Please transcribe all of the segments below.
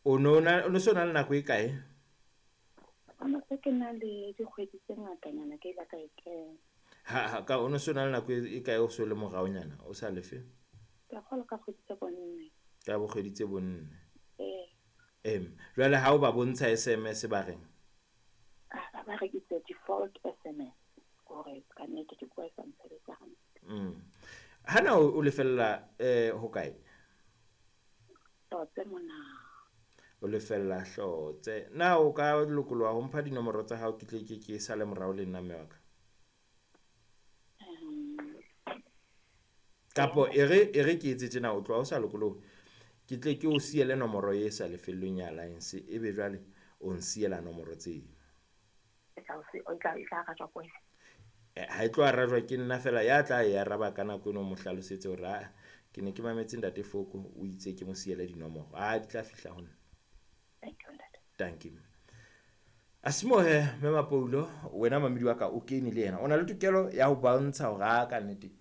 O no na o no so na le nako e kae? O no se ke na le dikgwedi tse ngatanyana ke ile ka e kena. Ha ha ka o no so na le nako e kae o so le moraonyana o sa lefe? Ke a kgolwa ka kgwedi tse bonne. Ka bokgwedi tse bonne. Ee. Em jwale ha o ba bontsha SMS ba reng? Ah, ba re it's a default SMS hore ka nnete ke bua e sa ntshebetsa hantle. Hana o lefella ho kae? Hlotse mona. O lefella Hlotse. Na o ka lokoloha ho mpha dinomoro tsa hao ke tle ke sale morao le nna mme wa ka? Kapo e re ke etse tjena o tloha o sa lokolohe. Ke tle ke o siele nomoro e sa lefellweng ya Alliance ebe jwale o nsiela nomoro tseo. E tla o e tla e tla arajwa ke wena. Ha e tlo arajwa ke nna fela ya tla e araba ka nako eno o mo hlalosetse hore aa ke ne ke mametse ntate Foko o itse ke mo siele dinomoro. Ah di tla fihla ho nna. Thank you ntate. Thank you. Asimohe mme Mapoulo wena mamedi wa ka o kene le yena. O na le tokelo ya ho bontsha hore a ka nnete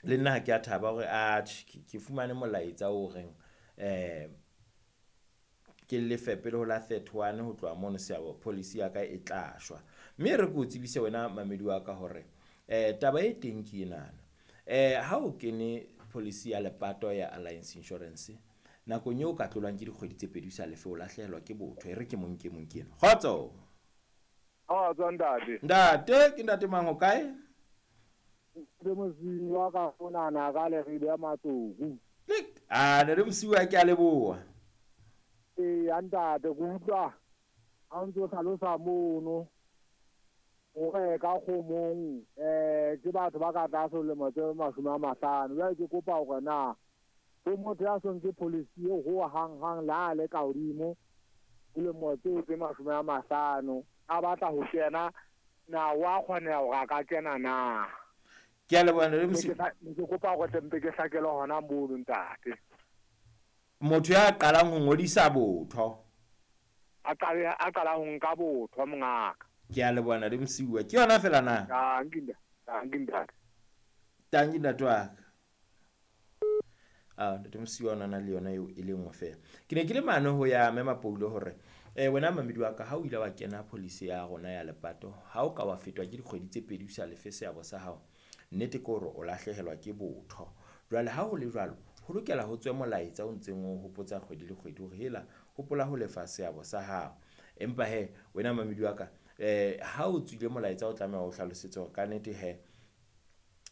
le nna ha ke a thaba hore a ke fumane molaetsa o reng ke lefe pele ho la 31 ho tloha mono seabo policy ya ka e tla shwa. Mme re ke o tsebise wena mamedi wa ka hore taba e teng ke enana. Ha o kene policy ya lepato ya Alliance Insurance nakong eo ka tlolwang ke dikgwedi tse pedi o sa lefe o lahlehelwa ke botho. E re ke mong ke mong ke ena. Kgotso. Kgotso ntate. Ntate ke ntate mang o kae? Ke mosinyi wa ka monana ka Leribe ya Matsoku. Lik. Ah ntate Mosiuwa ke a leboha. Ee ntate ke utlwa ha o ntso hlalosa mono hore ka kgomong ke batho ba ka tlase ho lemo tse 50. Jwale ke kopa hore na ho motho ya so nke policy eo ho hang hang le ha le ka hodimo dilemo tseo tse 50 a batla ho kena na wa kgoneha hore a ka kena na? Ke a leboha ntate Mosiuwa. Ne ke kopa hore tle mpe ke hlakelwe hona mono ntate. Motho ya qalang ho ngodisa botho. A qale a qala ho nka botho mongaka. Ke a leboha ntate Mosiuwa. Ke yona fela na? Tanki ntate. Tanki ntate. Tanki ntate wa ka. Ah ntate Mosiuwa o na le yona eo e le nngwe fela. Ke ne ke le mane ho ya mme Mapoulo hore wena mamedi wa ka ha o ile wa kena policy ya rona ya lepato ha o ka wa fetwa ke dikgwedi tse pedi o sa lefe seabo sa hao nnete ke hore o lahlehelwa ke botho. Jwale ha ho le jwalo ho lokela ho tswe molaetsa o ntseng o hopotsa kgwedi le kgwedi hore hela hopola ho lefa seabo sa hao. Empa he wena mamedi wa ka ha o tswile molaetsa o tlameha o hlalosetse hore kannete he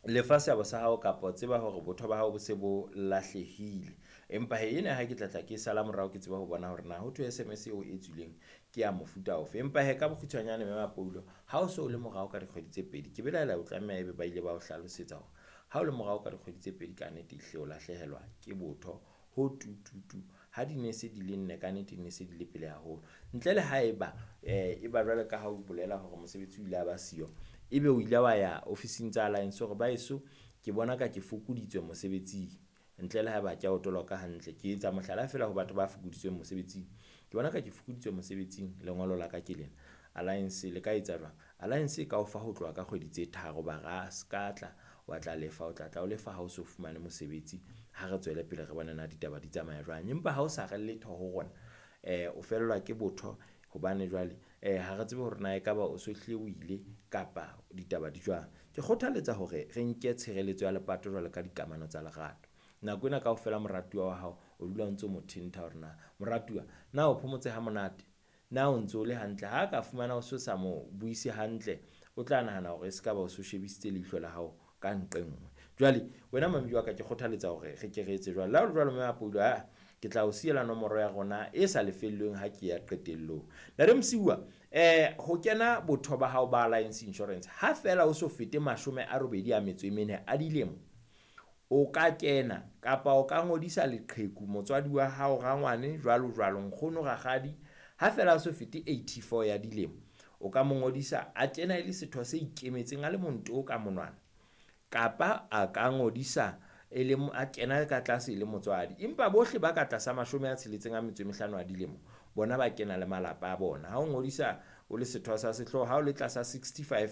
lefa seabo sa hao kapa tseba hore botho ba hao bo se bo lahlehile. Empa he ena ha ke tla tla ke sala morao ke tseba ho bona hore na ho thwe SMS eo e tswileng ke ya mofuta ofe. Empa he ka bokgutshwanyane mme Mapoulo ha o so le morao ka dikgwedi tse pedi ke belaela o tlameha ebe ba ile ba o hlalosetsa hore ha o le morao ka dikgwedi tse pedi ka nnete ehlile o lahlehelwa ke botho ho tututu. Ha di ne se di le nne ka nnete di ne se di le pele haholo. Ntle le haeba e ba jwale ka ha o bolela hore mosebetsi o ile a ba siyo ebe o ile wa ya ofising tsa Alliance hore ba eso ke bona ka ke fokoditswe mosebetsing ntle le haeba ke a o toloka hantle. Ke etsa mohlala fela ho batho ba fokoditsweng mosebetsing. Ke bona ka ke fokoditswe mosebetsing lengolo la ka ke lena. Alliance le ka etsa jwang? Alliance e ka o fa ho tloha ka kgwedi tse tharo ba re a ska tla wa tla lefa o tla tla o lefa ha o so fumane mosebetsi. Ha re tswele pele re bone na ditaba di tsamaya jwang. Empa ha o sa re letho ho rona o fellwa ke botho hobane jwale ha re tsebe hore na ekaba o so hlile o ile kapa ditaba di jwang. Ke kgothaletsa hore re nke tshireletso ya lepato jwalo ka dikamano tsa lerato. Nako ena kaofela moratuwa wa hao o dula o ntso mo thentha hore na moratuwa na o phomotse ha monate, na o ntso o le hantle. Ha ka fumana o so sa mo buise hantle, o tla nahana hore e se ka ba o so shebisitse leihlo la hao ka nqe nngwe. Jwale wena mamedi wa ka ke kgothaletsa hore re ke re etse jwalo. Le ha ho le jwalo mme Mapoulo aa ke tla o siela nomoro ya rona e sa lefellweng ha ke ya qetellong. Ntate Mosiuwa ho kena botho ba hao ba Alliance Insurance ha fela o so fete 84 a dilemo o ka kena kapa o ka ngodisa leqheku motswadi wa hao rangwane jwalo jwalo nkgono rakgadi ha fela a so fete 84 ya dilemo o ka mo ngodisa a kena e le setho se ikemetseng a le monto ka monwana kapa a ka ngodisa e le a kena ka tlase e le motswadi. Empa bohle ba ka tlasa 65 a dilemo bona ba kena le malapa a bona. Ha o ngodisa o le setho sa sehlooho ha o le tlasa 65